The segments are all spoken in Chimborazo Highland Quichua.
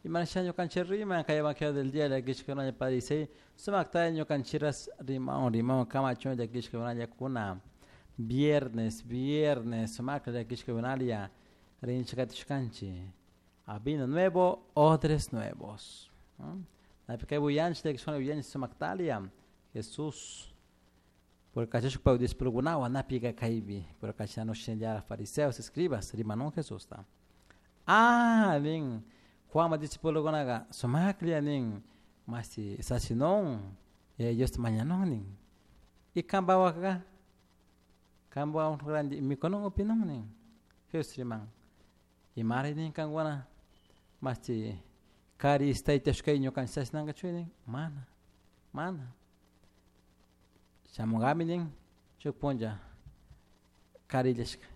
Imanasha ñukanchik riman kay Evangelio del día llakishkakunalla parisei sumaktalla ñukanchiras rimawan rimawan kamachun llakishkakunallakuna viernes viernes sumakta llakishkakunalla rinchik katishkanchik a vino nuevo, odres nuevos. Napi kay willanchik llakishkuna willanchik sumaktalla Jesús por kachashpa discípulokunawan napiqa kaypi por kachanu shinallara fariseos escribas rimanun Jesusta. Ah, nin Juanma discípulokunaqa sumaklla nin masi sasinun Diosta mañanun nin. Y kanpawakqa kanpawan ranti mikunun upinun nin. Jesús riman. Imari nin kankuna masti kari istaytashkay ñukanchik sasinankachu nin mana mana. Shamunkami nin shuk punlla kari illashka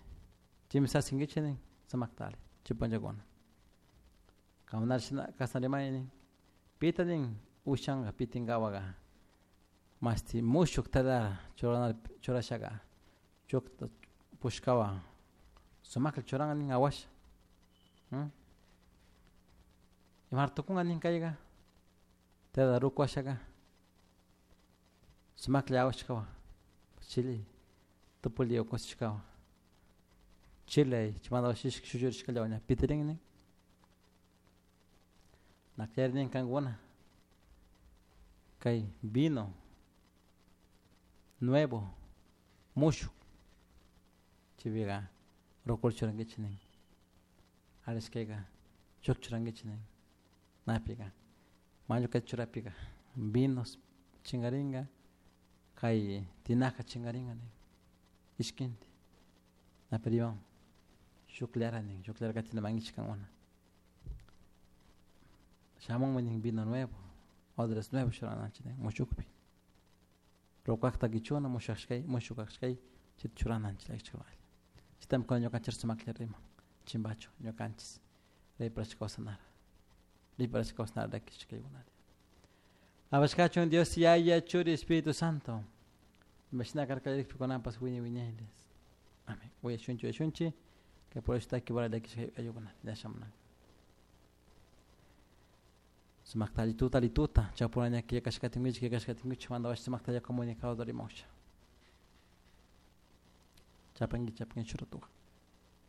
chaymi sasinkichik nin sumaktali chay punllakuna. Kankunata shina kashna rimani nin pita nin ushanka pitinkawaka mashti mushuk telara churana churashaka shukta pushkawan sumakta churanka nin awasha imara tukunka nin kayka tela ruku washaka sumaklla awashkawan chile tupuli kusishkawan chile chaymanta washishka shuchurishkallawan ña pitirin nin nakllari nin kankuna kay vino nuevo mushuk chaypika rukul churankichik nin arishkayka shuk churankichik nin napika mañu kay churapika vinos chinkarinka kay tinaja chinkarinka nin ishkinti napi riman shukllara nin shukllara katina mankichik kankuna shamunmi nin vino nuevo odres nuevos churananchik nin mushukpi rukakta kichuna mushukashkay mushukashkay chayta churananchik chaytami kunan ñukanchik sumaklla riman chimbachu ñukanchik riparashka kawsanara riparashka kawsanara llakishkaykunata. Apashkachun Dios Yaya Churi Espíritu Santo imashina karka kunanpas wiñay wiñayles. Amén. Uyashunchik uyashunchik kay purashutaki para llakishka ayukunata llasamunanka. Sumakta allituta allituta chapuraña killkashkatinkichik killkashkatinkichik manda sumakta comunicado rimausha. Chapanki chapanki shuratuka.